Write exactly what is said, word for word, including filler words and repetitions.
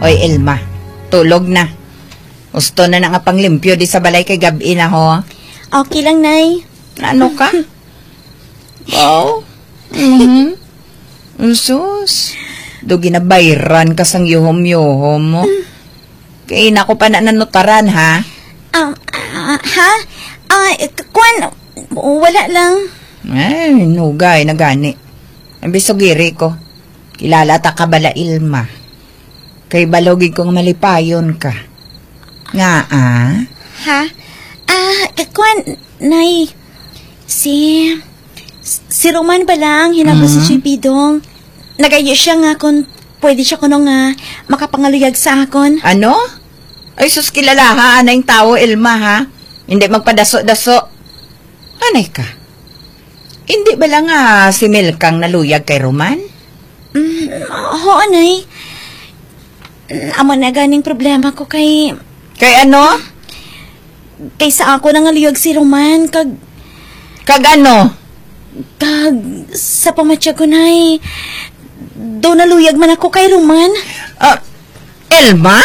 Oy, Elma, tulog na. Gusto na na nga panglimpyo di sa balay kay gab-i na, ho. Okay lang, Nay. Ano ka? Wow. Mhm. Sus. Do ginabayran ka sang yuhom-yuhom mo. Kay nako pa na nanutaran, ha? Um, ah, ha? Ah, k- kwan, wala lang. Ay, nugay na gani. Ang bisog iri ko. Kilala ta ka bala, Ilma. Kay balogig kong malipayon ka. Nga, ah? Ha? Ah, k- kwan, Nay. Si, si Roman bala ang hinabo sa Mhm. Cupido. Nagayo siya nga kung pwede siya kuno nga makapangaluyag sa akon. Ano? Ay, sus, kilalaha na yung tao, Elma, ha? Hindi magpadaso-daso. Anay ka? Hindi ba lang nga si Melkang naluyag kay Roman? Mm, oo, Nay. Amo na ganing problema ko kay Kay ano? Kay sa ako nangaluyag si Roman, kag Kag ano? Kag sa pamatyag ko, Nay, do naluyag man ako kay Roman. Ah, Elma?